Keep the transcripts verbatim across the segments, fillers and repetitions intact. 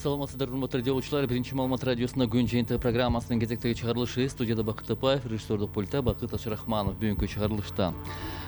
Саламатсыздар, урматтуу радиолучулар. Биринчи маалымат радиосунда күн жыйынтыгы программасынын кезектеги чыгарылышы. Студияда Бакыт Тапаев, режиссердик пультта Бакыт Ашрахманов. Бүгүнкү чыгарылышта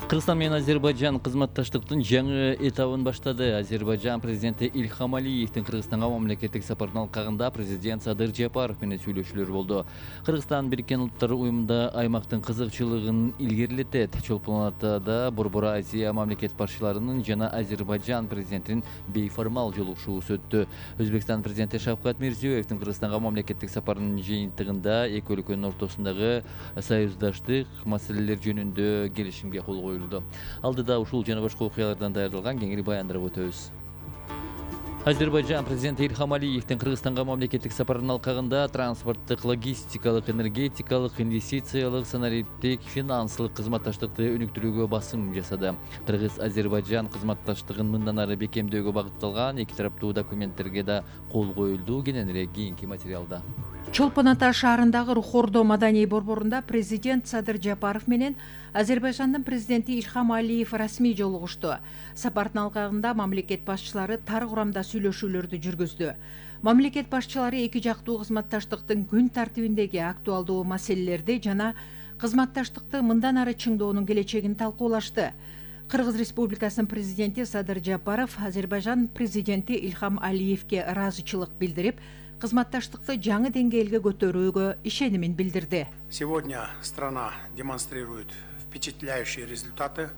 Кыргызстан менен Азербайжан кызматташтыктын жаңы этабын баштады. Азербайжан президенти Ильхам Алиевдин Кыргызстанга мамлекеттик сапарынын алкагында президент Садыр Жапаров менен сүйлөшүүлөр болду. Кыргызстан Бириккен Улуттар уюмунда аймактын кызыкчылыгын илгерилетет. Чолпон Атада Борбор Азия мамлекет башчыларынын жана Азербайжан президентинин бейформал жолугушуусу өттү. Өзбекстан президенти Шавкат Мирзиёевдин Кыргызстанга мамлекеттик сапарынын жыйынтыгында эки өлкөнүн ортосундагы союздаштык маселелер жөнүндө келишимге кол коюлду. Алдыда ушул жана башка окуялардан даярдалган кеңири баяндырып өтөбүз. Азербайжан президенти Ильхам Алиевдин Кыргызстанга мамлекеттик сапарынын алкагында транспорттук, логистикалык, энергетикалык, инвестициялык, санариптик, финансылык кызматташтыкты өнүктүрүүгө басым жасады. Кыргыз-Азербайжан кызматташтыгын мындан ары бекемдөөгө багытталган эки тараптуу документтерге да кол коюлду. Кененирээк кийинки материалда. Чолпон Ата шаарындагы Рухордо маданий борборунда президент Садыр Жапаров менен Азербайжандын президенти Ильхам Алиев расмий жолугушту. Сапардын алкагында мамлекет башчылары тар курамда сүйлөшүүлөрдү жүргүздү. Мамлекет башчылары эки жактуу кызматташтыктын күн тартибиндеги актуалдуу маселелерди жана кызматташтыкты мындан ары чыңдоонун келечегин талкуулашты. Кыргыз Республикасынын президенти Садыр Жапаров Азербайжан президенти Ильхам Алиевге ыраазычылык билдирип, кызматташтыкты жаңы деңгээлге көтөрүүгө ишенимин билдирди. Сегодня страна демонстрирует впечатляющие результаты,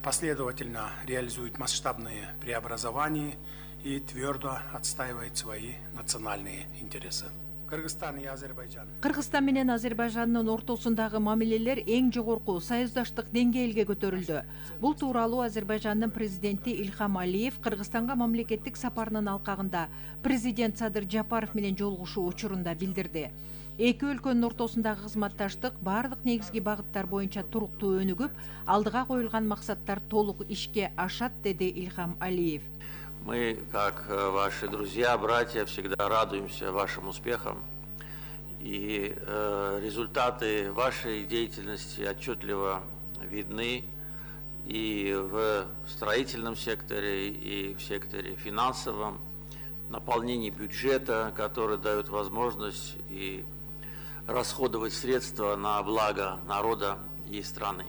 последовательно реализует масштабные преобразования и твердо отстаивает свои национальные интересы. Кыргызстан и Азербайджан. Кыргызстан менен Азербайжандын ортосундагы мамилелер эң жогорку союздаштык деңгээлге көтөрүлдү. Бул тууралуу Азербайжандын президенти Ильхам Алиев Кыргызстанга мамлекеттик сапарынын алкагында президент Садыр Жапаров менен жолугушуу учурунда билдирди. Эки өлкөнүн ортосундагы кызматташтык бардык негизги багыттар боюнча туруктуу өнүгүп, алдыга коюлган максаттар толук ишке ашат, деди Ильхам Алиев. Мы, как ваши друзья, братья, всегда радуемся вашим успехам. И э, результаты вашей деятельности отчетливо видны и в строительном секторе, и в секторе финансовом, наполнении бюджета, который дает возможность и расходовать средства на благо народа и страны.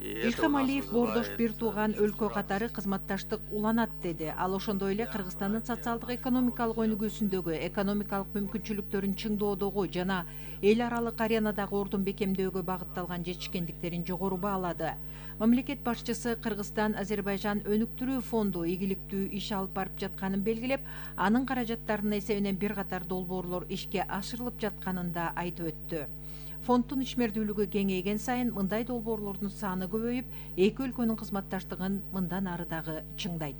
Ильхам Алиев бордош бир тууган өлкө катары кызматташтык уланат, деди. Ал ошондой эле Кыргызстандын социалдык экономикалык өнүгүүсүндөгү, экономикалык мүмкүнчүлүктөрүн чыңдоодогу жана эл аралык аренадагы ордун бекемдөөгө багытталган жетишкендиктерин жогору баалады. Мамлекет башчысы Кыргызстан Азербайжан өнүктүрүү фонду ийгиликтүү иш алып барып жатканын белгилеп, анын каражаттарынын эсебинен бир катар долбоорлор ишке ашырылып жатканын да айтып өттү. Фонддун ишмердүүлүгү кеңейген сайын мындай долбоорлордун саны көбөйүп, эки өлкөнүн кызматташтыгын мындан ары дагы чыңдайт.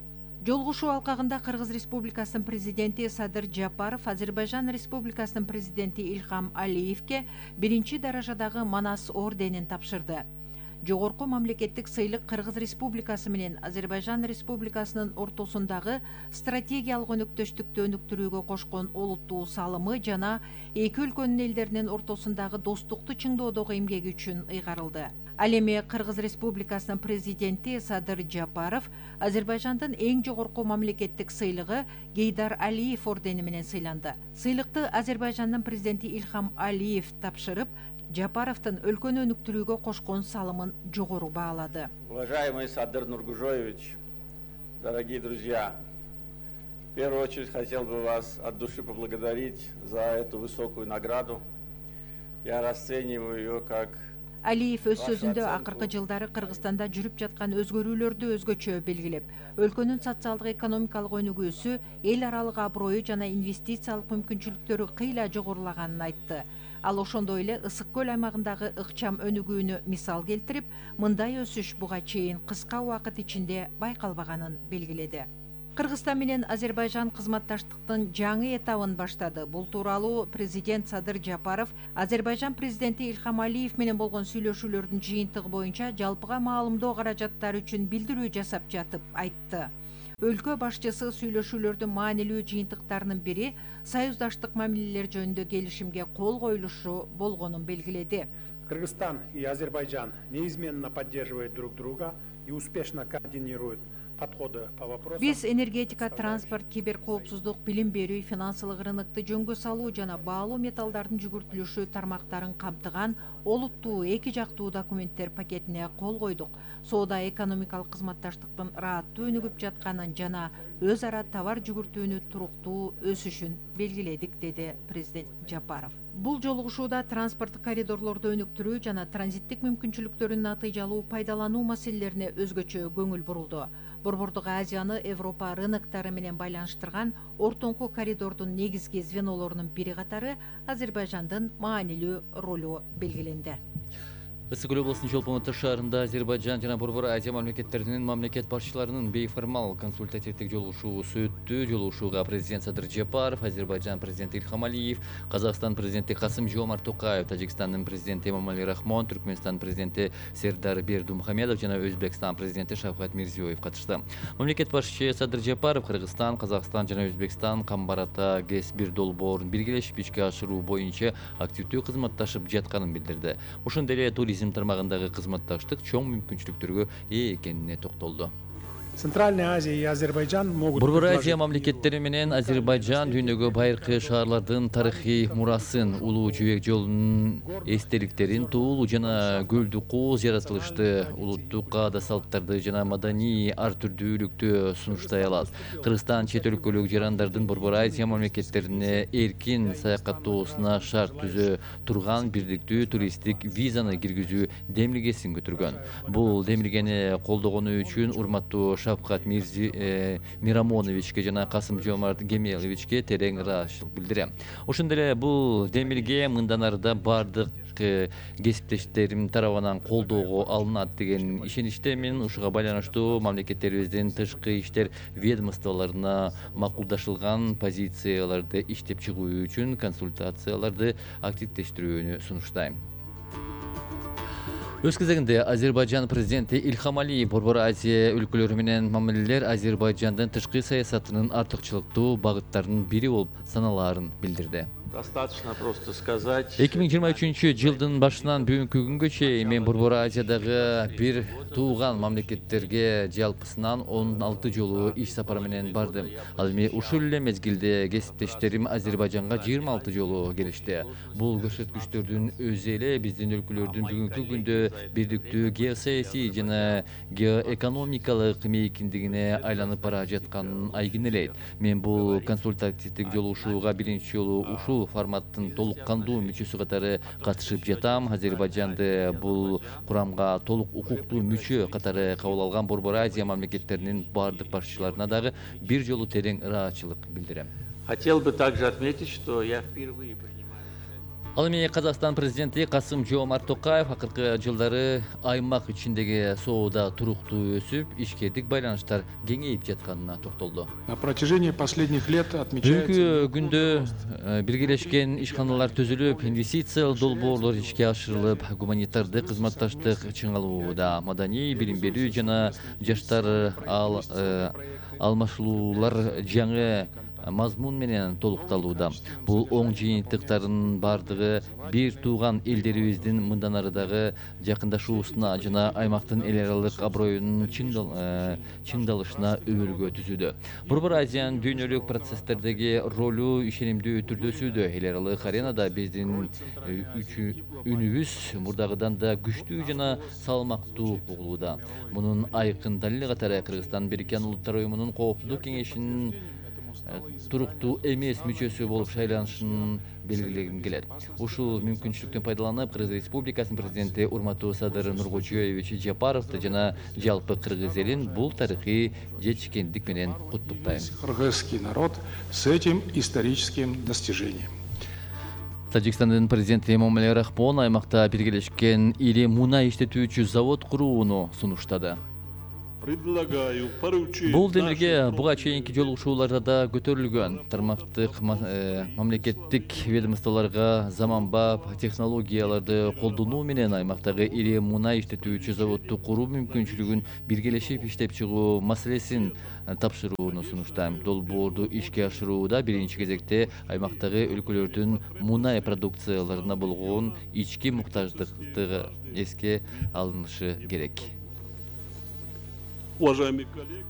Жолугушуу алкагында Кыргыз Республикасынын президенти Садыр Жапаров Азербайжан Республикасынын президенти Ильхам Алиевге биринчи даражадагы Манас орденин тапшырды. Жогорку мамлекеттик сыйлык Кыргыз Республикасы менен Азербайжан Республикасынын ортосундагы стратегиялык өнөктөштүктү өнүктүрүүгө кошкон олуттуу салымы жана эки өлкөнүн элдеринин ортосундагы достукту чыңдоодогу эмгеги үчүн ыйгарылды. Ал эми Кыргыз Республикасынын президенти Садыр Жапаров Азербайжандын эң жогорку мамлекеттик сыйлыгы Гейдар Алиев ордени менен сыйланды. Сыйлыкты Азербайжандын президенти Ильхам Алиев тапшырып, Жапаровдун өлкөнү өнүктүрүүгө кошкон салымын жогору баалады. Уважаемый Садыр Нургужоевич, дорогие друзья, в первую очередь хотел бы вас от души поблагодарить за эту высокую награду. Я расцениваю ее как... Алиев өз сөзүндө акыркы жылдары Кыргызстанда жүрүп жаткан өзгөрүүлөрдү өзгөчө белгилеп, өлкөнүн социалдык экономикалык өнүгүүсү, эл аралык аброю жана инвестициялык мүмкүнчүлүктөрү кыйла жогорулаганын айтты. Ал ошондой эле Ысык көл аймагындагы ыкчам өнүгүүнү мисал келтирип, мындай өсүш буга чейин кыска убакыт ичинде байкалбаганын белгиледи. Кыргызстан менен Азербайжан кызматташтыктын жаңы этабын баштады. Бул тууралуу президент Садыр Жапаров Азербайжан президенти Ильхам Алиев менен болгон сүйлөшүүлөрдүн жыйынтыгы боюнча жалпыга маалымдоо каражаттары үчүн билдирүү жасап жатып айтты. Өлкө башчысы сүйлөшүүлөрдүн маанилүү жыйынтыктарынын бири союздаштык мамилелер жөнүндө келишимге кол коюлушу болгонун белгиледи. Кыргызстан и Азербайджан неизменно поддерживают друг друга и успешно координируют подходы по вопросам. Биз энергетика, транспорт, киберкоопсуздук, билим берүү, финансылык рынокты жөнгө салуу жана баалуу металлдардын жүгүртүлүшү тармактарын камтыган олуттуу эки жактуу документтер пакетине кол койдук. Соода экономикалык кызматташтыктын ырааттуу өнүгүп жатканын жана өз ара товар жүгүртүүнү туруктуу өсүшүн белгиледик, деди президент Жапаров. Бул жолугушууда транспорттук коридорлорду өнүктүрүү жана транзиттик мүмкүнчүлүктөрүн натыйжалуу пайдалануу маселелерине өзгөчө көңүл бурулду. Борбордук Азияны Европа рыноктары менен байланыштырган ортоңку коридордун негизги звенолорунун бири катары Азербайжандын маанилүү ролу белгиленди. Ысык Көл облусунун Чолпон-Ата шаарында Азербайжан жана Борбор Азия мамлекеттеринин мамлекет башчыларынын бейформал консультативдик жолугушуусу өттү. Жолугушууга президент Садыр Жапаров, Азербайжан президенти Ильхам Алиев, Казакстан президенти Касым-Жомарт Токаев, Тажикстандын президенти Эмомали Рахмон, Түркмөнстан президенти Сердар Бердумухамедов жана Өзбекстан президенти Шавкат Мирзиёев катышты. Мамлекет башчысы Садыр Жапаров Кыргызстан, Казакстан жана Өзбекстан Камбарата ГЭС бир долбоорун биргелешип ишке ашыруу боюнча активдүү кызматташып жатканын билдирди. Ошондой эле туризм тармагындагы кызматташтык чоң мүмкүнчүлүктөргө ээ экенине токтолду. Центральная Азия и Азербайджан могут... Борбор Азия мамлекеттери менен Азербайжан дүйнөгө байыркы шаарлардын тарыхый мурасын, улуу жибек жолунун эстеликтерин, туулуу жана көлдү кооз жаратылышты, улуттук каада салттарды жана маданий ар түрдүүлүктү сунуштай алат. Кыргызстан чет өлкөлүк жарандардын Борбор Азия мамлекеттерине эркин саякаттоосуна шарт түзө турган бирдиктүү туристтик визаны киргизүү демилгесин көтөргөн. Бул демилгени колдогону үчүн урматтуу Шавкат Мирзи э, Мирамоновичке жана Касым-Жомарт Кемеловичке терең ыраазычылык билдирем. Ошондой эле бул демилге мындан арыда бардык э, кесиптештерим тарабынан колдоого алынат деген ишеничтемин. Ушуга байланыштуу мамлекеттерибиздин тышкы иштер ведомстволоруна макулдашылган позицияларды иштеп чыгуу үчүн консультацияларды активдештирүүнү сунуштайм. Өз кезегинде Азербайжан президенти Ильхам Алиев Борбор Азия өлкөлөрү менен мамилелер Азербайжандын тышкы саясатынын артыкчылыктуу багыттарынын бири болуп саналаарын билдирди. Достаточно просто сказать. эки миң жыйырма үчүнчү жылдын башынан бүгүнкү күнгө чейин мен Борбор Азиядагы бир тууган мамлекеттерге жалпысынан он алты жолу иш сапары менен бардым. Ал эми ушул эле мезгилде кесиптештерим Азербайжанга жыйырма алты жолу келишти. Бул көрсөткүчтөрдүн өзү эле биздин өлкөлөрдүн бүгүнкү күндө бирдиктүү геосаясий жана геоэкономикалык мейкиндигине айланып бара жатканын айгинелейт. Мен бул консультативдик жолугушууга биринчи жолу ушул форматтын толук кандуу мүчөсү катары катышып жатам. Азербайжанды бул курамга толук укуктуу мүчө катары кабыл алган Борбор Азия мамлекеттеринин бардык башчыларына дагы бир жолу терең ыраазычылык билдирем. Хотел бы также отметить, что я впервые принимаю. Ал эми Казакстан президенти Касым-Жомарт Токаев акыркы жылдары аймак ичиндеги соода туруктуу өсүп, ишкердик байланыштар кеңейип жатканына токтолду. На протяжении последних лет отмечается... Бүгүнкү күндө биргелешкен ишканалар түзүлүп, инвестициялык долбоорлор ишке ашырылып, гуманитардык кызматташтык чыңалууда, маданий билим берүү жана жаштар ал алмашуулар жаңы мазмун менен толукталууда. Бул оң жыйынтыктардын бардыгы бир тууган элдерибиздин мындан арыдагы жакындашуусуна жана аймактын эл аралык аброюнун чыңдалышына өбөлгө түзүүдө. Борбор Азиянын дүйнөлүк процесстердеги ролу ишенимдүү түрдө өсүүдө. Эл аралык аренада биздин үнүбүз мурдагыдан да күчтүү жана салмактуу угулууда. Мунун айкын далили катары Кыргызстан Бириккен Улуттар уюмунун Коопсуздук кеңешинин туруктуу эмес мүчөсү болуп шайланышын белгилегим келет. Ушул мүмкүнчүлүктөн пайдаланып, Кыргыз Республикасынын президенти урматтуу Садыр Нуркожоевич Жапаровду жана жалпы кыргыз элин бул тарыхый жетишкендик менен куттуктайм. Кыргызский народ с этим историческим достижением. Тажикстандын президенти Эмомали Рахмон аймакта биргелешкен ири мунай иштетүүчү завод курууну сунуштады. Бул демилге буга чейинки жолугушууларда да көтөрүлгөн. Тармактык мамлекеттик ведомстволорго заманбап технологияларды колдонуу менен аймактагы ири мунай иштетүүчү заводду куруу мүмкүнчүлүгүн биргелешип иштеп чыгуу маселесин тапшырууну сунуштайм. Долбоорду ишке ашырууда биринчи кезекте аймактагы өлкөлөрдүн мунай продукцияларына болгон ички муктаждыктыгы эске алынышы керек. Уважаемые коллеги,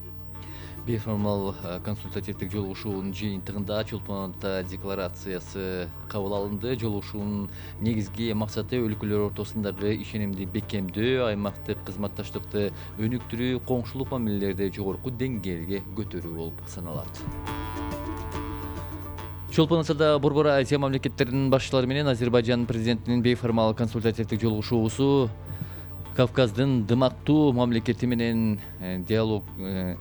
Бейформал консультативдик жолугушуунун жыйынтыгында Чолпон ата декларациясы кабыл алынды. Жолугушуунун негизги максаты өлкөлөр ортосундагы ишенимди бекемдөө, аймактык кызматташтыкты өнүктүрүү, коңшулук мамилелерди жогорку деңгээлге көтөрүү болуп саналат. Чолпон атада Борбор Азия мамлекеттеринин башчылары менен Азербайжан президентинин бейформал консультативдик жолугушуусу Кавказдын дымактуу мамлекети менен диалог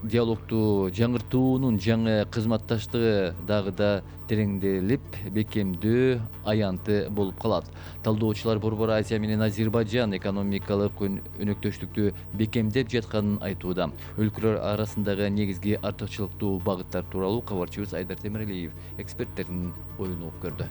диалогду жаңыртуунун жаңы кызматташтыгы дагы да тереңделип, бекемдөө аянты болуп калат. Талдоочулар Борбор Азия менен Азербайжан экономикалык өнөктөштүктү бекемдеп жатканын айтууда. Өлкөлөр арасындагы негизги артыкчылыктуу багыттар тууралуу кабарчыбыз Айдар Темиралиев эксперттердин оюн угуп көрдү.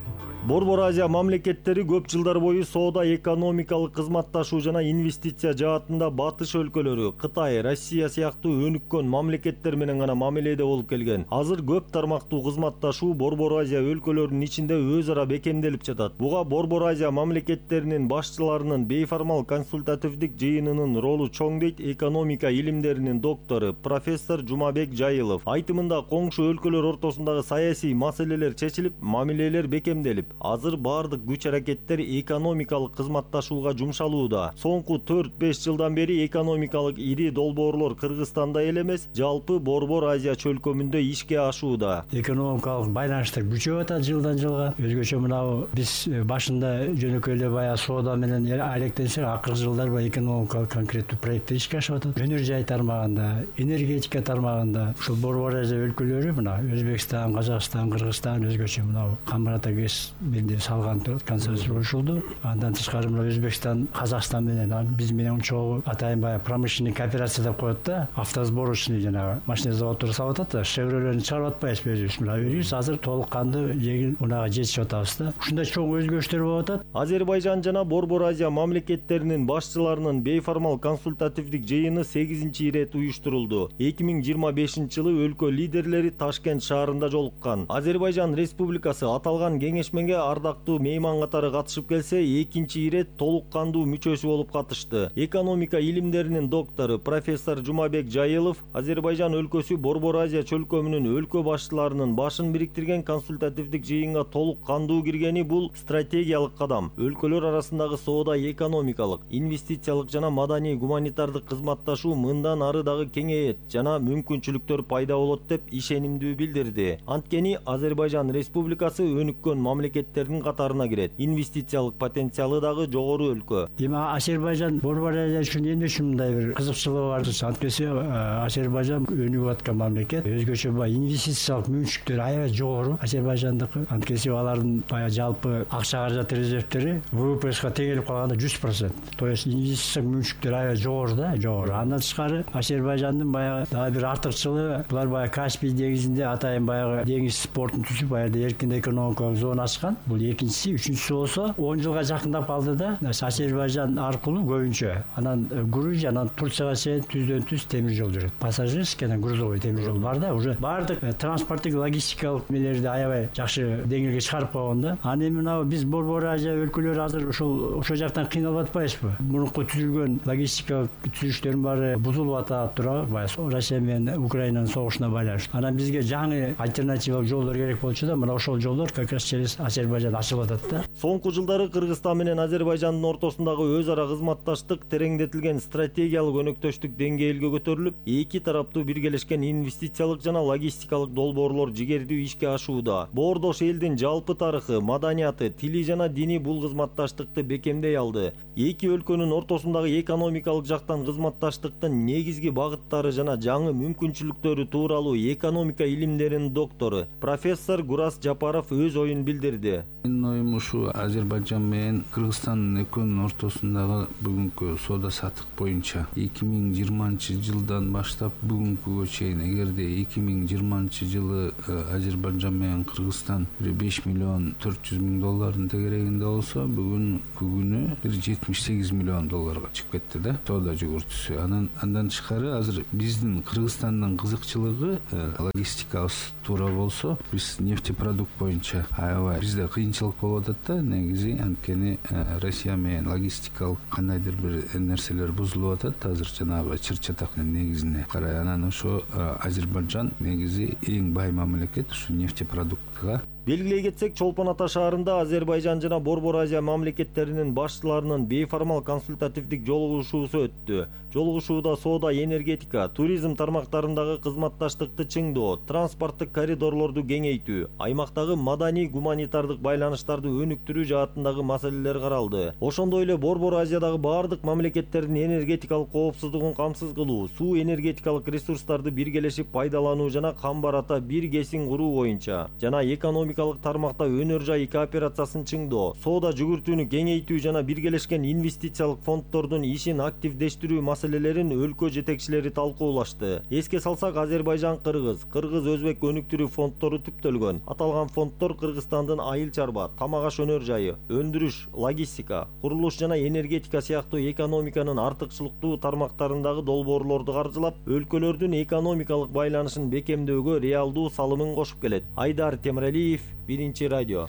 Борбор Азия мамлекеттери көп жылдар бою соода, экономикалык кызматташуу жана инвестиция жаатында батыш өлкөлөрү Кытай, Россия сыяктуу өнүккөн мамлекеттер менен гана мамиледе болуп келген. Азыр көп тармактуу кызматташуу Борбор Азия өлкөлөрүнүн ичинде өз ара бекемделип жатат. Буга Борбор Азия мамлекеттеринин башчыларынын бейформал консультативдик жыйынынын ролу чоң дейт экономика илимдеринин доктору профессор Жумабек Жайылов. Айтымында коңшу өлкөлөр ортосундагы саясий маселелер чечилип, мамилелер бекемделип, азыр бардык күч аракеттер экономикалык кызматташууга жумшалууда. Соңку төрт беш жылдан бери экономикалык ири долбоорлор Кыргызстанда эле эмес, жалпы Борбор Азия чөлкөмүндө ишке ашууда. Экономикалык байланыштар күчөп атат жылдан жылга. Өзгөчө мынау биз башында жөнөкөй эле баягы соода менен алектенсек, акыркы жылдар баягы экономикалык конкреттүү проекттер ишке ашып атат. Өнөр жай тармагында, энергетика тармагында ушул Борбор Азия өлкөлөрү мына Өзбекстан, Казакстан, Кыргызстан өзгөчө мынау Камбарата ГЭС бирде салган консенсус ошолду. Андан тышкары мына Өзбекстан, Казакстан менен биз менен чогуу атайын баягы промышленный кооперация деп коет да, автосборочный жанагы машина заводдору салып атат да, шевролерин чыгарып атпайбызбы өзүбүз. Мына өзүбүз азыр толук кандуу жеңил унага жетишип атабыз да. Ушундай чоң өзгөрүштөр болуп атат. Азербайжан жана Борбор Азия мамлекеттеринин башчыларынын бейформал консультативдик жыйыны сегизинчи ирет уюштурулду. эки миң жыйырма бешинчи жылы өлкө лидерлери Ташкент шаарында жолуккан. Азербайжан Республикасы аталган кеңешмеге ардактуу мейман катары катышып келсе, экинчи ирет толук кандуу мүчөсү болуп катышты. Экономика илимдеринин доктору профессор Жумабек Жайылов Азербайжан өлкөсү Борбор Азия чөлкөмүнүн өлкө башчыларынын башын бириктирген консультативдик жыйынга толук кандуу киргени бул стратегиялык кадам. Өлкөлөр арасындагы соода, экономикалык, инвестициялык жана маданий гуманитардык кызматташуу мындан ары дагы кеңейет жана мүмкүнчүлүктөр пайда болот деп ишенимдүү билдирди. Анткени Азербайжан Республикасы өнүккөн мамлекеттердин катарына кирет. Инвестициялык потенциалы дагы жогору өлкө. Эми Азербайжан Борбор Азия үчүн эмне үчүн мындай бир кызыкчылыгы бар? Анткени Азербайжан өнүгүп аткан мамлекет, өзгөчө баягы инвестициялык мүмкүнчүлүктөрү аябай жогору Азербайжандыкы. Анткени алардын баягы жалпы акча каражат резервтери ВВПга тең келип калганда жүз процент. То есть инвестициялык мүмкүнчүлүктөрү аябай жогору да, жогору. Андан тышкары Азербайжандын баягы дагы бир артыкчылыгы, булар баягы Каспий деңизинде атайын баягы деңиз портун түзүп, баягы эркин экономикалык зона ачкан. Бул экинчиси, үчүнчүсү болсо он жылга жакындап калды да, Азербайжан аркылуу көбүнчө анан Грузия, анан Турцияга чейин түздөн түз темир жол жүрөт. Пассажирский анан грузовой темир жол бар да, уже бардык транспорттук логистикалык мелерди аябай жакшы деңгээлге чыгарып койгон да. Аны эми мына биз Борбор Азия өлкөлөрү азыр ошол ошол жактан кыйналып атпайбызбы? Мурунку түзүлгөн логистикалык түзүлүштөрдүн баары бузулуп атат туурабы? Баягы Россия менен Украинанын согушуна байланыштуу. Анан бизге жаңы альтернативалык жолдор керек болчу да, мына ошол жолдор как раз через Азербайжан ачылып атат да. Соңку жылдары Кыргызстан менен Азербайжандын ортосундагы өз ара кызматташтык тереңдетилген стратегиялык өнөктөштүк деңгээлге көтөрүлүп, эки тараптуу биргелешкен инвестициялык жана логистикалык долбоорлор жигердүү ишке ашууда. Боордош элдин жалпы тарыхы, маданияты, тили жана дини бул кызматташтыкты бекемдей алды. Эки өлкөнүн ортосундагы экономикалык жактан кызматташтыктын негизги багыттары жана жаңы мүмкүнчүлүктөрү тууралуу экономика илимдеринин доктору профессор Гурас Жапаров өз оюн билдирди. Менин оюм ушу Азербайжан менен Кыргызстандын экөөнүн ортосундагы бүгүнкү соода саттык боюнча эки миң жыйырманчы жылдан баштап бүгүнкүгө чейин, эгерде эки миң жыйырманчы жылы Азербайжан менен Кыргызстан беш миллион төрт жүз миң доллардын тегерегинде болсо, бүгүнкү күнү бир жетимиш сегиз миллион долларга чыгып кетти да соода жүгүртүүсү. Анан андан тышкары азыр биздин Кыргызстандын кызыкчылыгы логистикабыз туура болсо, биз нефтепродукт боюнча аябай бизде кыйынчылык болуп атат да негизи, анткени Россия менен логистикалык кандайдыр бир нерселер бузулуп атат азыр жанагы чыр чатактын негизине карай. Анан ошо Азербайжан негизи эң бай мамлекет ушу нефтепродуктка. Белгилей кетсек, Чолпон Ата шаарында Азербайжан жана Борбор Азия мамлекеттеринин башчыларынын бейформал консультативдик жолугушуусу өттү. Жолугушууда соода, энергетика, туризм тармактарындагы кызматташтыкты чыңдоо, транспорттук коридорлорду кеңейтүү, аймактагы маданий гуманитардык байланыштарды өнүктүрүү жаатындагы маселелер каралды. Ошондой эле Борбор Азиядагы бардык мамлекеттердин энергетикалык коопсуздугун камсыз кылуу, суу энергетикалык ресурстарды биргелешип пайдалануу жана камбарата бир кесин куруу боюнча жана экономикалык тармакта өнөр жай кооперациясын чыңдоо, соода жүгүртүүнү кеңейтүү жана биргелешкен инвестициялык фонддордун ишин активдештирүү маселелерин өлкө жетекчилери талкуулашты. Эске салсак, Азербайжан кыргыз, кыргыз өзбек өнүктүрүү фонддору түптөлгөн. Аталган фонддор Кыргызстандын айыл чарба, тамак аш өнөр жайы, өндүрүш, логистика, курулуш жана энергетика сыяктуу экономиканын артыкчылыктуу тармактарындагы долбоорлорду каржылап, өлкөлөрдүн экономикалык байланышын бекемдөөгө реалдуу салымын кошуп келет. Айдар Темиралиев, Биринчи радио.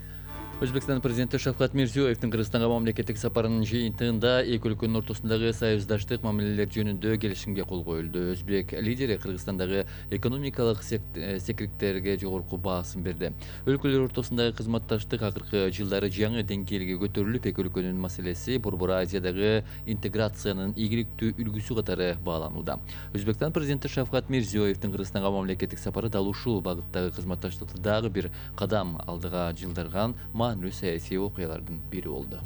Өзбекстан президенти Шавкат Мирзиёевдин Кыргызстанга мамлекеттик сапарынын жыйынтыгында эки өлкөнүн ортосундагы союздаштык мамилелер жөнүндө келишимге кол коюлду. Өзбек лидери Кыргызстандагы экономикалык секириктерге жогорку баасын берди. Өлкөлөр ортосундагы кызматташтык акыркы жылдары жаңы деңгээлге көтөрүлүп, эки өлкөнүн маселеси Борбор Азиядагы интеграциянын ийгиликтүү үлгүсү катары бааланууда. Өзбекстан президенти Шавкат Мирзиёевдин Кыргызстанга мамлекеттик сапары дал ушул багыттагы кызматташтыкты дагы бир кадам алдыга жылдырган маанилүү саясий окуялардын бири болду.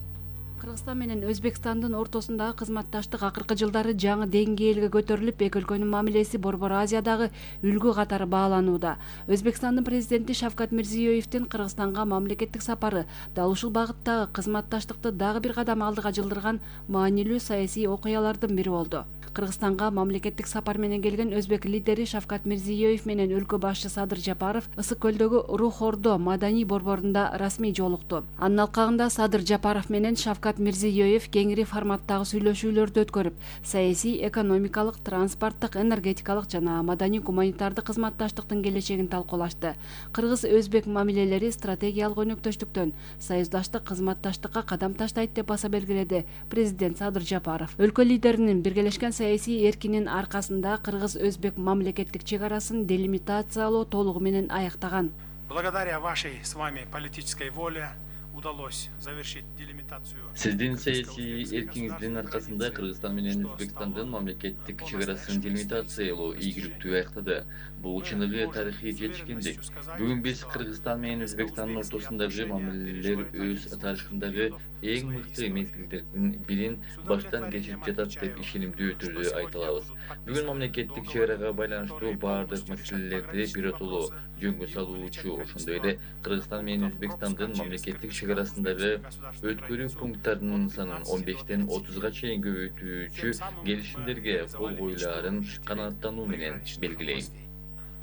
Кыргызстан менен Өзбекстандын ортосундагы кызматташтык акыркы жылдары жаңы деңгээлге көтөрүлүп, эки өлкөнүн мамилеси Борбор Азиядагы үлгү катары бааланууда. Өзбекстандын президенти Шавкат Мирзиёевдин Кыргызстанга мамлекеттик сапары дал ушул багыттагы кызматташтыкты дагы бир кадам алдыга жылдырган маанилүү саясий окуялардын бири болду. Кыргызстанга мамлекеттик сапар менен келген өзбек лидери Шавкат Мирзиёев менен өлкө башчы Садыр Жапаров Ысык көлдөгү Рух-Ордо маданий борборунда расмий жолукту. Анын алкагында Садыр Жапаров менен Шавкат Мирзиёев кеңири форматтагы сүйлөшүүлөрдү өткөрүп, саясий, экономикалык, транспорттук, энергетикалык жана маданий гуманитардык кызматташтыктын келечегин талкуулашты. Кыргыз-өзбек мамилелери стратегиялык өнөктөштүктөн союздаштык кызматташтыкка кадам таштайт деп баса белгиледи президент Садыр Жапаров. Өлкө лидеринин биргелешкен саясий эркинин аркасында кыргыз-өзбек мамлекеттик чек арасын делимитациялоо толугу менен аяктаган. Благодаря вашей с вами политической воле удалось завершить делимитацию. Сиздин саясий эркиңиздин аркасында Кыргызстан менен Өзбекстандын мамлекеттик чек арасын делимитациялоо ийгиликтүү аяктады. Бул чыныгы тарыхый жетишкендик. Бүгүн биз Кыргызстан менен Өзбекстандын ортосундагы мамилелер өз тарыхындагы эң мыкты мезгилдердин бирин баштан кечирип жатат деп ишенимдүү түрдө айта алабыз. Бүгүн мамлекеттик чек арага байланыштуу баардык маселелерди биротоло жөнгө салуучу, ошондой эле Кыргызстан менен Өзбекстандын мамлекеттик чек арасындагы өткөрүү пункттарынын санын он бештен отузга чейин көбөйтүүчү келишимдерге кол коюлаарын канааттануу менен белгилейм.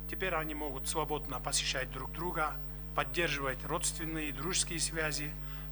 Теперь они могут свободно посещать друг друга, поддерживать родственные и дружеские связи,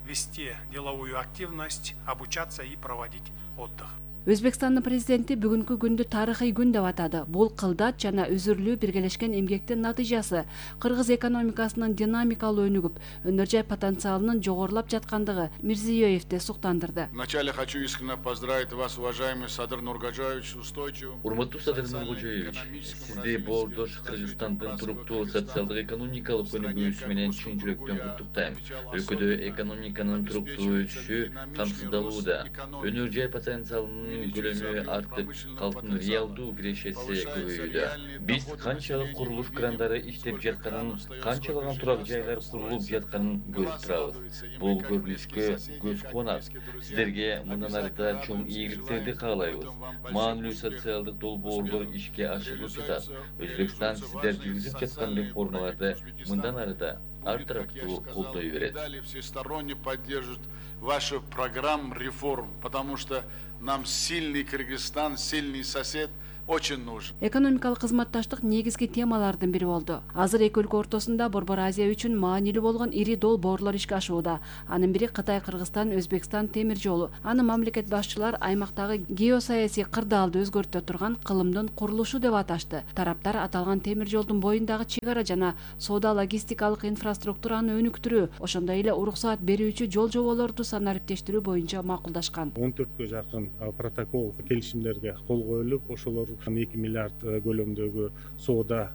вести деловую активность, обучаться и проводить отдых. Өзбекстандын президенти бүгүнкү күндү тарыхый күн деп атады. Бул кылдат жана үзүрлүү биргелешкен эмгектин натыйжасы. Кыргыз экономикасынын динамикалуу өнүгүп, өнөр жай потенциалынын жогорулап жаткандыгы Мирзиёевди суктандырды. Вначале хочу искренне поздравить вас, уважаемый Садыр Нургожаевич, устойчивым. Урматтуу Садыр Нургожаевич, сизди боордош Кыргызстандын туруктуу социалдык экономикалык өнүгүүсү менен чын жүрөктөн куттуктайм. Өлкөдө экономиканын туруктуу өсүшү камсыздалууда. Өнөр жай потенциалынын көлөмү артып, калктын реалдуу кирешеси көбөйүүдө. Биз канчалык курулуш крандары иштеп жатканын, канчалаган турак жайлар курулуп жатканын көрүп турабыз. Бул көрүнүшкө көз кубанат. Сиздерге мындан ары да чоң ийгиликтерди каалайбыз. Маанилүү социалдык долбоорлор ишке ашырылып жатат. Өзбекстан сиздер жүргүзүп жаткан реформаларды мындан ары да ар тараптуу колдой берет. Всесторонне поддержат вашу программу реформ, потому что нам сильный Кыргызстан, сильный сосед очень нужен. Экономикалык кызматташтык негизги темалардын бири болду. Азыр эки өлкө ортосунда Борбор Азия үчүн маанилүү болгон ири долбоорлор ишке ашууда. Анын бири Кытай, Кыргызстан, Өзбекстан темир жолу. Аны мамлекет башчылар аймактагы геосаясий кырдаалды өзгөртө турган кылымдын курулушу деп аташты. Тараптар аталган темир жолдун боюндагы чек ара жана соода логистикалык инфраструктураны өнүктүрүү, ошондой эле уруксаат берүүчү жол жоболорду санариптештирүү боюнча макулдашкан. он төрткө жакын протокол келишимдерге кол коюлуп, ошолор эки миллиард көлөмдөгү соода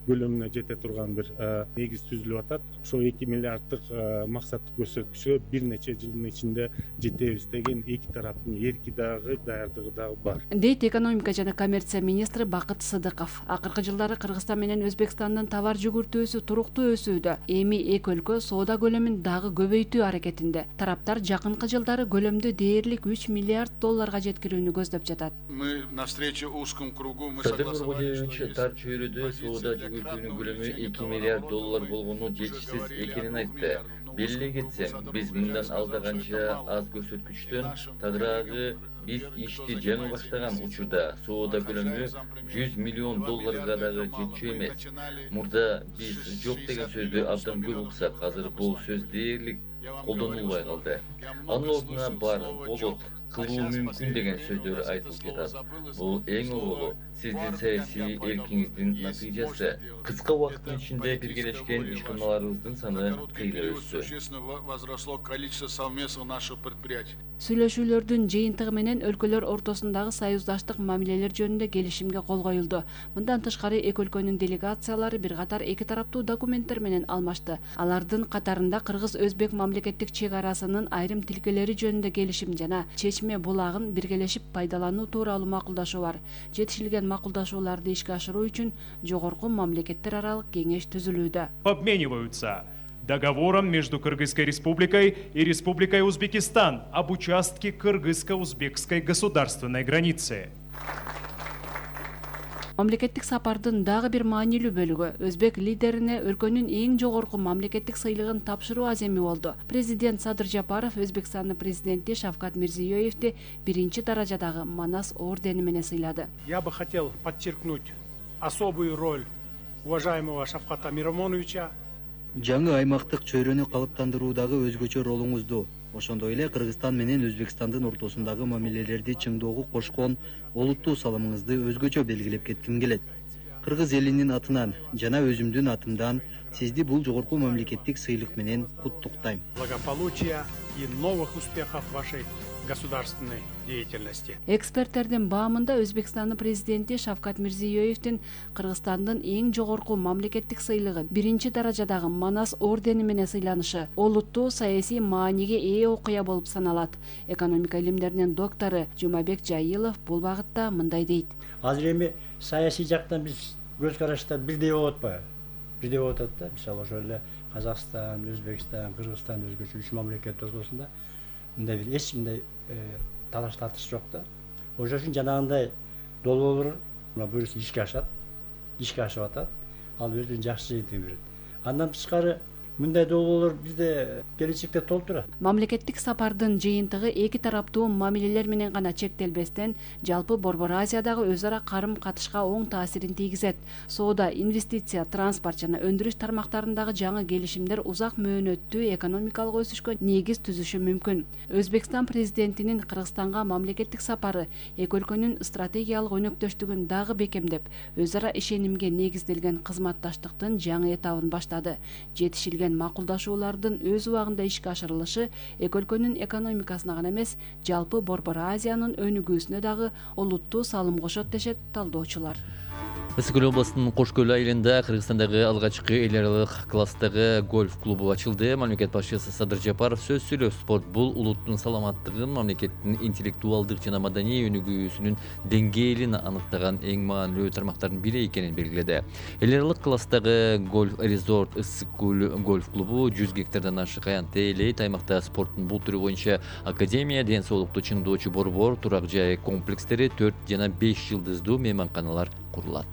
көлөмүнө жете турган бир негиз түзүлүп атат. Ошол эки миллиарддык максаттык көрсөткүчкө бир нече жылдын ичинде жетебиз деген эки тараптын эрки дагы, даярдыгы дагы бар. Дейт экономика жана коммерция министри Бакыт Сыдыков. Акыркы жылдары Кыргызстан менен Өзбекстандын товар жүгүртүүсү туруктуу өсүүдө. Эми эки өлкө соода көлөмүн дагы көбөйтүү аракетинде. Тараптар жакынкы жылдары көлөмдү дээрлик үч миллиард долларга жеткирүүнү көздөп жатат. Мы на встрече узком кругу мы Садыр согласовали, Нургулевич тар чөйрөдө соода жүгүртүүнүн көлөмү эки миллиард доллар болгону жетишсиз экенин айтты. Белгилей кетсем, биз мындан алда канча аз көрсөткүчтөн тагыраагы биз ишти жаңы баштаган учурда соода көлөмү жүз миллион долларга дагы жетчү эмес. Мурда биз жок деген сөздү абдан көп уксак, азыр бул сөз дээрлик колдонулбай калды. Анын ордуна бар, болот, кылуу мүмкүн деген сөздөр айтылып жатат. Бул эң огулу сиздин саясий эркиңиздин натыйжасы. Кыска убакыттын ичинде биргелешкен ишканаларыбыздын саны кыйла өссү. возросло количество совместных наших предприятий. Сүйлөшүүлөрдүн жыйынтыгы менен өлкөлөр ортосундагы союздаштык мамилелер жөнүндө келишимге кол коюлду. Мындан тышкары эки өлкөнүн делегациялары бир катар эки тараптуу документтер менен алмашты. Алардын катарында Кыргыз-Өзбек мамлекеттик чек арасынын айрым тилкелери жөнүндө келишим жана Чечме булагын биргелешип пайдалануу тууралуу макулдашуу бар. Жетишилген макулдашууларды ишке ашыруу үчүн жогорку мамлекеттер аралык кеңеш түзүлүүдө. Обмениваются договором между Кыргызской республикой и Республикой Узбекистан об участке кыргызско-узбекской государственной границы. Мамлекеттик сапардын дагы бир маанилүү бөлүгү өзбек лидерине өлкөнүн эң жогорку мамлекеттик сыйлыгын тапшыруу аземи болду. Президент Садыр Жапаров Өзбекстандын президенти Шавкат Мирзиёевди биринчи даражадагы Манас ордени менен сыйлады. Я бы хотел подчеркнуть особую роль уважаемого Шавката Миромоновича. Жаңы аймактык чөйрөнү калыптандыруудагы өзгөчө ролуңузду, ошондой эле Кыргызстан менен Өзбекстандын ортосундагы мамилелерди чыңдоого кошкон олуттуу салымыңызды өзгөчө белгилеп кетким келет. Кыргыз элинин атынан жана өзүмдүн атымдан сизди бул жогорку мамлекеттик сыйлык менен куттуктайм. Благополучия и новых успехов вашей государственной деятельности. Эксперттердин баамында Өзбекстандын президенти Шавкат Мирзиёевдин Кыргызстандын эң жогорку мамлекеттик сыйлыгы биринчи даражадагы Манас ордени менен сыйланышы олуттуу саясий мааниге ээ окуя болуп саналат. Экономика илимдеринин доктору Жумабек Жайылов бул багытта мындай дейт. Азыр эми саясий жактан биз көз карашта бирдей болуп атпайбы? Бирдей болуп атат да. Мисалы ошол эле Казакстан, Өзбекстан, Кыргызстан өзгөчө үч мамлекет ортосунда мындай бир эч кимдей талаш тартыш жок да. Ошол үчүн жанагындай долбоорлор буюрса ишке ашат, ишке ашып атат. Ал өзүнүн жакшы жыйынтыгын берет. Андан тышкары мындай долбоорлор бизде келечекте толтура. Мамлекеттик сапардын жыйынтыгы эки тараптуу мамилелер менен гана чектелбестен, жалпы Борбор Азиядагы өз ара карым катышка оң таасирин тийгизет. Соода, инвестиция, транспорт жана өндүрүш тармактарындагы жаңы келишимдер узак мөөнөттүү экономикалык өсүшкө негиз түзүшү мүмкүн. Өзбекстан президентинин Кыргызстанга мамлекеттик сапары эки өлкөнүн стратегиялык өнөктөштүгүн дагы бекемдеп, өз ара ишенимге негизделген кызматташтыктын жаңы этабын баштады. Жетишилген макулдашуулардын өз убагында ишке ашырылышы эки өлкөнүн экономикасына гана эмес, жалпы Борбор Азиянын өнүгүүсүнө дагы олуттуу салым кошот дешет талдоочулар. Ысык Көл областынын Кош Көл айылында Кыргызстандагы алгачкы эл аралык класстагы гольф клубу ачылды. Мамлекет башчысы Садыр Жапаров сөз сүйлөп, спорт бул улуттун саламаттыгын, мамлекеттин интеллектуалдык жана маданий өнүгүүсүнүн деңгээлин аныктаган эң маанилүү тармактардын бири экенин белгиледи. Эл аралык класстагы гольф резорт Ысык Көл гольф клубу жүз гектардан ашык аянтты ээлейт. Аймакта спорттун бул түрү боюнча академия, ден соолукту чыңдоочу борбор, турак жай комплекстери, төрт жана беш жылдыздуу мейманканалар курулат.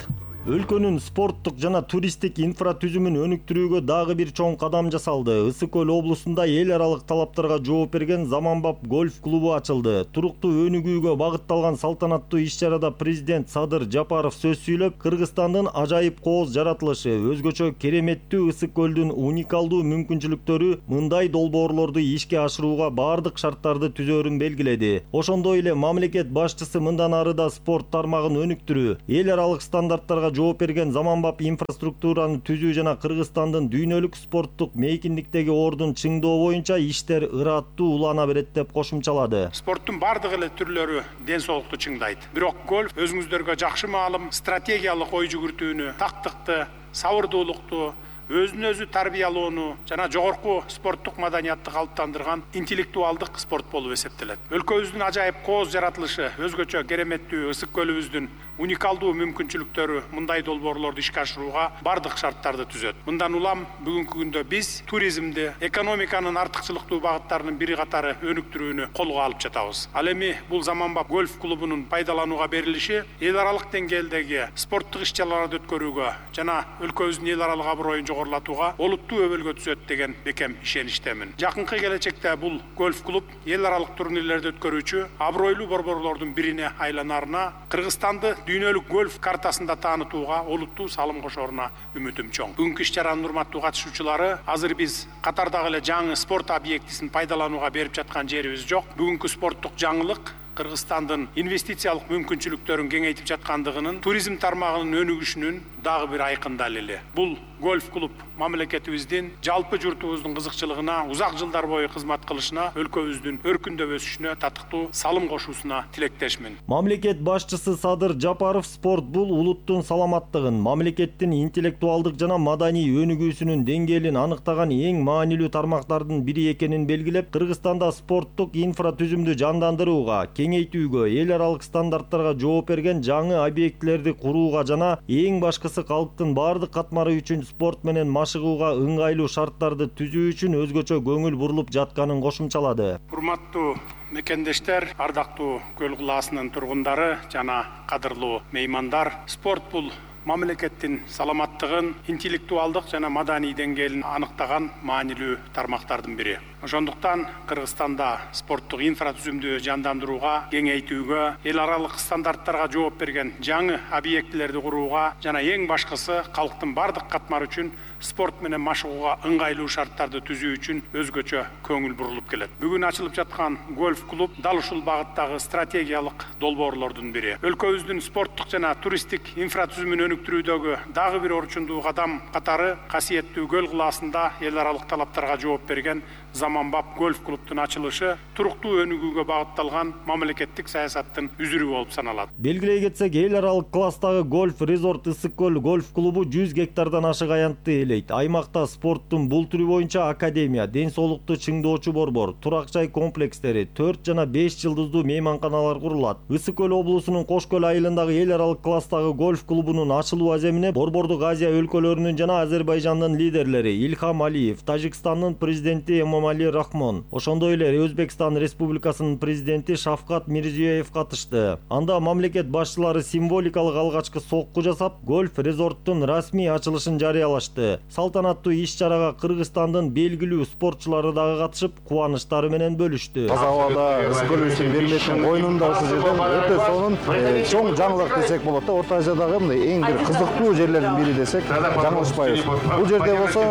Өлкөнүн спорттук жана туристтик инфратүзүмүн өнүктүрүүгө дагы бир чоң кадам жасалды. Ысык көл облусунда эл аралык талаптарга жооп берген Заманбап гольф клубу ачылды. Туруктуу өнүгүүгө багытталган салтанаттуу иш-чарада президент Садыр Жапаров сөз сүйлөп, Кыргызстандын ажайып кооз жаратылышы, өзгөчө кереметтүү Ысык көлдүн уникалдуу мүмкүнчүлүктөрү мындай долбоорлорду ишке ашырууга бардык шарттарды түзөөрүн белгиледи. Ошондой эле мамлекет башчысы мындан ары да спорт тармагын өнүктүрүү, эл аралык стандарттарга жооп берген заманбап инфраструктураны түзүү жана Кыргызстандын дүйнөлүк спорттук мейкиндиктеги ордун чыңдоо боюнча иштер ыраттуу улана берет деп кошумчалады. Спорттун бардык эле түрлөрү ден соолукту чыңдайт. Бирок гольф өзүңүздөргө жакшы маалым, стратегиялык ой жүгүртүүнү, тактыкты, сабырдуулукту, өзүн өзү тарбиялоону жана жогорку спорттук маданиятты калыптандырган интеллектуалдык спорт болуп эсептелет. Өлкөбүздүн ажайып кооз жаратылышы, өзгөчө кереметтүү Ысык көлүбүздүн уникалдуу мүмкүнчүлүктөрү мындай долбоорлорду ишке ашырууга бардык шарттарды түзөт. Мындан улам бүгүнкү күндө биз туризмди, экономиканын артыкчылыктуу багыттарынын бири катары өнүктүрүүнү колго алып жатабыз. Ал эми бул Заманбап гольф клубунун пайдаланууга берилиши эл аралык деңгээлдеги спорттук иш-чараларды өткөрүүгө жана өлкөбүздүн эл аралык аброюн жогорулатууга олуттуу өбөлгө түзөт деген бекем ишеничтемин. Жакынкы келечекте бул гольф клуб эл аралык турнирлерди өткөрүүчү абройлуу борборлордун бирине айланарына, Кыргызстанды дүйнөлүк гольф картасында таанытууга олуттуу салым кошоруна үмүтүм чоң. Бүгүнкү иш-чаранын урматтуу катышуучулары, азыр биз катардагы эле жаңы спорт объектисин пайдаланууга берип жаткан жерибиз жок. Бүгүнкү спорттук жаңылык Кыргызстандын инвестициялык мүмкүнчүлүктөрүн кеңейтип жаткандыгынын, туризм тармагынын өнүгүшүнүн дагы бир айкын далили. Бул гольф клуб мамлекетибиздин жалпы журтубуздун кызыкчылыгына, узак жылдар бою кызмат кылышына, өлкөбүздүн өркүндөп өсүшүнө татыктуу салым кошуусуна тилектешмин. Мамлекет башчысы Садыр Жапаров спорт бул улуттун саламаттыгын, мамлекеттин интеллектуалдык жана маданий өнүгүүсүнүн деңгээлин аныктаган эң маанилүү тармактардын бири экенин белгилеп, Кыргызстанда спорттук инфратүзүмдү жандандырууга, кеңейтүүгө, эл аралык стандарттарга жооп берген жаңы объектилерди курууга жана эң башкысы калктын бардык катмары үчүн спорт менен машыгууга ыңгайлуу шарттарды түзүү үчүн өзгөчө көңүл бурулуп жатканын кошумчалады. Урматтуу мекендештер, ардактуу Көл кылаасынын тургундары жана кадырлуу меймандар, спорт бул мамлекеттин саламаттыгын, интеллектуалдык жана маданий деңгээлин аныктаган маанилүү тармактардын бири. Ошондуктан Кыргызстанда спорттук инфратүзүмдү жандандырууга, кеңейтүүгө, эл аралык стандарттарга жооп берген жаңы объектилерди курууга жана эң башкысы калктын бардык катмары үчүн спорт менен машыгууга ыңгайлуу шарттарды түзүү үчүн өзгөчө көңүл бурулуп келет. Бүгүн ачылып жаткан гольф клуб дал ушул багыттагы стратегиялык долбоорлордун бири. Өлкөбүздүн спорттук жана туристтик инфратүзүмүн өнүктүрүүдөгү дагы бир орчундуу кадам катары касиеттүү Көл кылаасында эл аралык талаптарга жооп берген Заманбап гольф клубтун ачылышы туруктуу өнүгүүгө багытталган мамлекеттик саясаттын үзүрү болуп саналат. Белгилей кетсек, эл аралык класстагы гольф резорт Ысык көл гольф клубу жүз гектардан ашык аянтты ээлейт. Аймакта спорттун бул түрү боюнча академия, ден соолукту чыңдоочу борбор, турак жай комплекстери, төрт жана беш жылдыздуу мейманканалар курулат. Ысык көл облусунун Кош көл айылындагы эл аралык класстагы гольф клубунун ачылуу аземине Борбордук Азия өлкөлөрүнүн жана Азербайжандын лидерлери Ильхам Алиев, Тажикстандын президенти Эмомали Рахмон, ошондой эле Өзбекстан Республикасынын президенти Шавкат Мирзиёев катышты. Анда мамлекет башчылары символикалык алгачкы сокку жасап, гольф резорттун расмий ачылышын жарыялашты. Салтанаттуу иш-чарага Кыргызстандын белгилүү спортчулары дагы катышып, кубанычтары менен бөлүштү. Таза абада Ысык көлүбүздүн Берметин койнунда ушул жерден өтө сонун чоң жаңылык десек болот да. Орто Азиядагы мындай эң бир кызыктуу жерлердин бири десек жаңылышпайбыз. Бул жерде болсо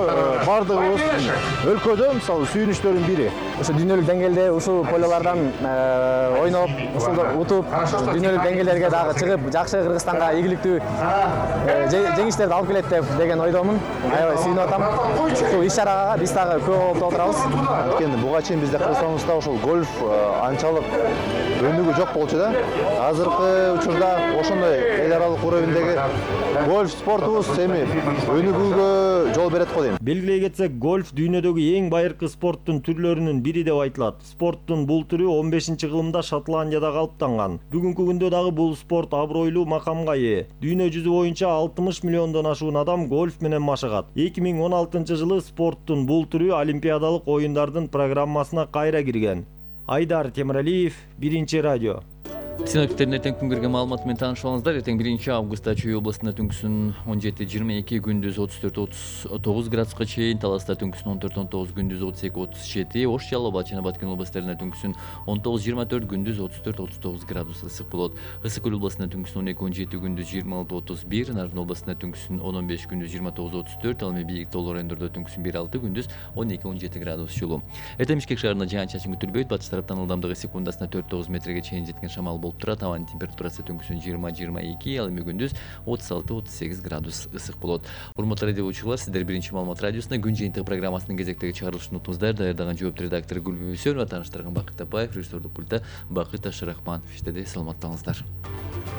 бардыгыбыз өлкөдө мисалы сүйүнүчтөрдүн бири. Ошо дүйнөлүк деңгээлде ушул полялардан ойноп, ушулду утуп, дүйнөлүк деңгээлдерге дагы чыгып, жакшы Кыргызстанга ийгиликтүү жеңиштерди алып келет деп деген ойдомун. Аябай сүйүнүп атам. Ушул иш-чарага биз дагы көп болуп отурабыз. Анткени буга чейин бизде Кыргызстаныбызда ушул гольф анчалык өнүгүү жок болчу да. Азыркы учурда ошондой эл аралык уровендеги гольф спортубуз эми өнүгүүгө жол берет го дейм. Белгилей кетсек, гольф дүйнөдөгү эң байыркы спорттун түрлөрүнүн бири деп айтылат. Спорттун бул түрү он бешинчи кылымда Шотландияда калыптанган. Бүгүнкү күндө дагы бул спорт абройлуу макамга ээ. Дүйнө жүзү боюнча алтымыш миллиондон ашуун адам гольф менен машыгат. эки миң он алтынчы жылы спорттун бул түрү Олимпиадалык оюндардын программасына кайра кирген. Айдар Темиралиев, Биринчи радио. Синоптиктердин эртең күнгөргө маалыматы менен таанышып алыңыздар. Эртең биринчи августта Чүй областында түнкүсүн он жети жыйырма эки, күндүз отуз төрт отуз тогуз градуска чейин, Таласта түнкүсүн он төрт он тогуз, күндүз отуз эки отуз жети, Ош, Жалал абад жана Баткен областарында түнкүсүн он тогуз жыйырма төрт, күндүз отуз төрт отуз тогуз градус ысык болот. Ысык көл областында түнкүсүн он эки он жети, күндүз жыйырма алты отуз бир, Нарын областында түнкүсүн он он беш, күндүз жыйырма тогуз отуз төрт, ал эми бийик тоолор райондордо түнкүсүн бир алты, күндүз он эки он жети градус жылуу. Эртең Бишкек шаарында жаан-чачын күтүлбөйт. Батыш тараптан ылдамдыгы секундасына төрт тогуз метрге чейин жеткен шамал болуп турат. Абанын температурасы түнкүсүн жыйырма жыйырма эки, ал эми күндүз отуз алты отуз сегиз градус ысык болот. Урматтуу радио угуучулар, сиздер биринчи маалымат радиосуна күн жыйынтыгы программасынын кезектеги чыгарылышын уктуңуздар. Даярдаган жооптуу редактор Гүлбү Мүсөнова, тааныштырган Бакыт Тапаев, режиссердук пульта Бакыт Ашырахманов иштеди. Саламаттаңыздар.